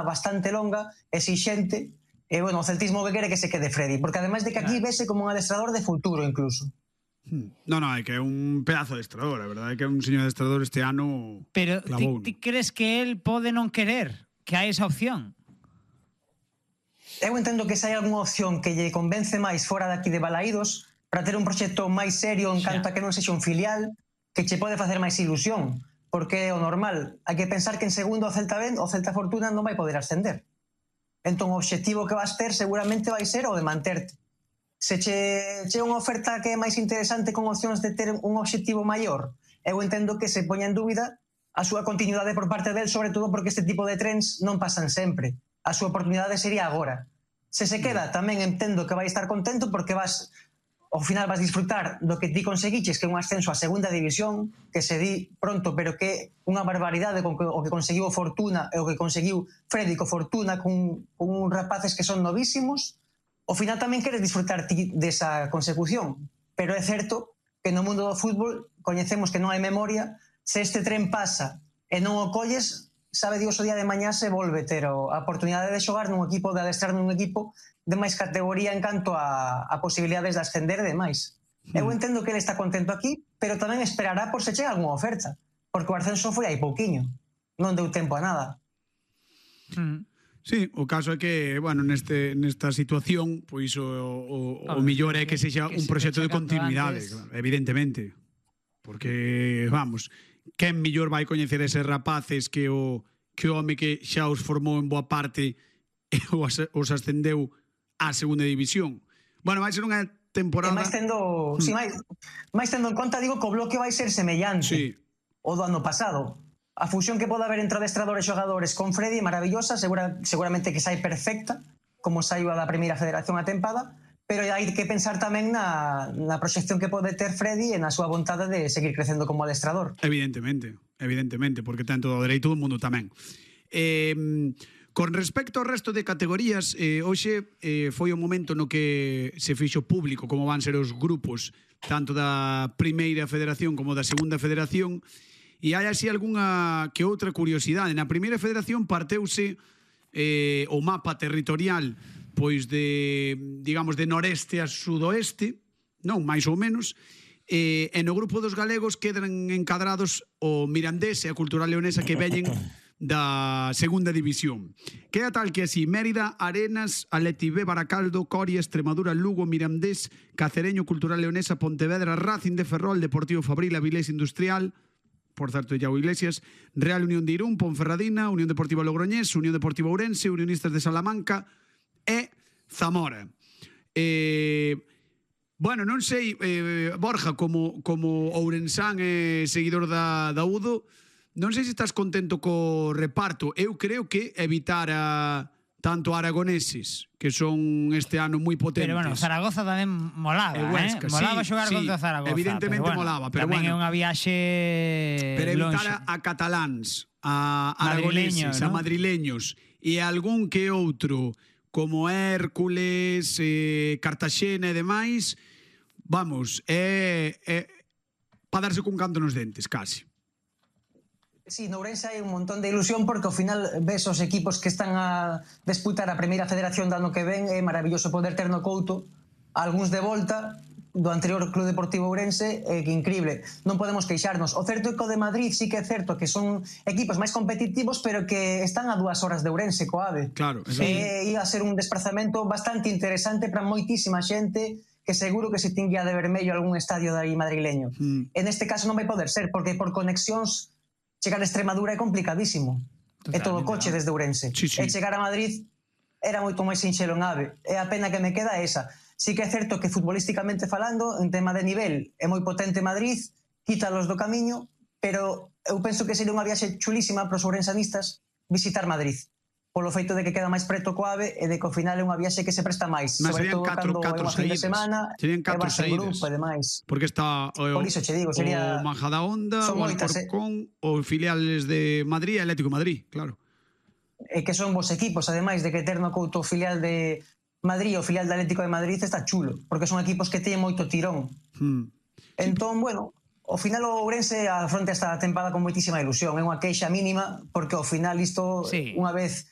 bastante longa, exixente, e, bueno, o celtismo que quere que se quede Freddy, porque ademais de que aquí vese como un adestrador de futuro incluso. No, é que é un pedazo de adestrador, a verdade é que é un señor adestrador este ano. Pero ti crees que él pode non querer que hai esa opción? Eu entendo que se hai algunha opción que lle convence máis fora daqui de Balaídos para ter un proxecto máis serio en canto a que non sexa un filial, que che pode facer máis ilusión, porque é o normal. Hai que pensar que en segundo o Celta Ben, o Celta Fortuna non vai poder ascender. Entón o obxectivo que vas ter seguramente vai ser o de manterte. Se che unha oferta que é máis interesante con opcións de ter un obxectivo maior, eu entendo que se poña en dúbida a súa continuidade por parte del, sobre todo porque este tipo de trens non pasan sempre. A súa oportunidade sería agora. Se se queda, tamén entendo que vai estar contento porque ao final vas disfrutar do que ti conseguiches, que é un ascenso a segunda división, que se di pronto, pero que é unha barbaridade con o que conseguiu Fortuna e o que conseguiu Freddy co Fortuna con rapaces que son novísimos. Ao final tamén queres disfrutar ti desa consecución, pero é certo que no mundo do fútbol coñecemos que non hai memoria. Se este tren pasa e non o colles, sabe Dios o día de mañá se volve ter a oportunidade de xogar nun equipo, de adestrar nun equipo de máis categoría en canto a posibilidades de ascender e demais. Eu entendo que ele está contento aquí, pero tamén esperará por se chega algunha oferta, porque o ascenso foi hai pouquiño, non deu tempo a nada. Sí, o caso é que, bueno, nesta situación, pois o mellor é que sexa un proxecto de continuidade, evidentemente. Porque, vamos, quen mellor vai coñecer eses rapaces que o home que xa os formou en boa parte e os ascendeu á segunda división. Bueno, vai ser unha temporada... máis tendo en conta, digo, que o bloque vai ser semellante o do ano pasado. A fusión que pode haber entre adestradores e xogadores con Freddy é maravillosa, seguramente que sai perfecta, como saiu a da primeira federación a tempada, pero hai que pensar tamén na proxección que pode ter Freddy e na súa vontade de seguir crecendo como adestrador. Evidentemente, porque ten todo o dereito do mundo tamén. Con respecto ao resto de categorías, hoxe foi o momento no que se fixo público como van ser os grupos tanto da primeira federación como da segunda federación, e hai así algunha que outra curiosidade. Na primeira federación parteuse o mapa territorial pois de, digamos, de noreste a sudoeste, non, máis ou menos, e no grupo dos galegos quedan encadrados o Mirandés e a Cultural Leonesa que veñen da segunda división. Queda tal que así: Mérida, Arenas, Atleti B, Baracaldo, Coria, Extremadura, Lugo, Mirandés, Cacereño, Cultural Leonesa, Pontevedra, Racing de Ferrol, Deportivo Fabril, Avilés Industrial, por certo, Iago Iglesias, Real Unión de Irún, Ponferradina, Unión Deportiva Logroñés, Unión Deportiva Ourense, Unionistas de Salamanca e Zamora. Bueno, non sei, Borja, como ourensán e seguidor da UDO, non sei se estás contento co reparto. Eu creo que evitar tanto aragoneses, que son este ano moi potentes. Pero bueno, Zaragoza tamén molaba, Huesca, molaba xogar contra Zaragoza. Evidentemente pero molaba, pero tamén bueno. é unha viaxe pero evitar a cataláns, a aragoneses, a madrileños e algún que outro como Hércules, Cartaxena e demais, vamos, para darse cun canto nos dentes, casi. Sí, no Ourense hai un montón de ilusión porque ao final ves os equipos que están a disputar a primeira federación do ano que ven. É maravilloso poder ter no Couto algúns de volta do anterior Club Deportivo Ourense, que increíble, non podemos queixarnos. O certo é que o de Madrid sí que é certo que son equipos máis competitivos, pero que están a 2 horas de Ourense co AVE. Claro, ia a ser un desplazamento bastante interesante para moitísima xente que seguro que se tinguía de vermello algún estadio de aí madrileño. En este caso non vai poder ser, porque por conexións chegar a Extremadura é complicadísimo. É todo coche desde Ourense. E chegar a Madrid era moito máis sinxelo en AVE. E a pena que me queda é esa. Sí que é certo que futbolísticamente falando, en tema de nivel, é moi potente Madrid, quítalos do camiño, pero eu penso que sería unha viaxe chulísima para os ourensanistas visitar Madrid, polo feito de que queda máis preto co AVE e de que ao final é unha viaxe que se presta máis, sobre todo cando é unha fin de semana e vas en grupo e demais. Porque está por iso che digo, sería o Majadahonda, o Alcorcón, o filiales de Madrid e Atlético de Madrid, claro. E que son vos equipos, ademais de que ter no Couto o filial de Madrid o filial de Atlético de Madrid está chulo, porque son equipos que teñen moito tirón. Entón, bueno, ao final o Ourense afronta esta tempada con moitísima ilusión, é unha queixa mínima, porque ao final isto, unha vez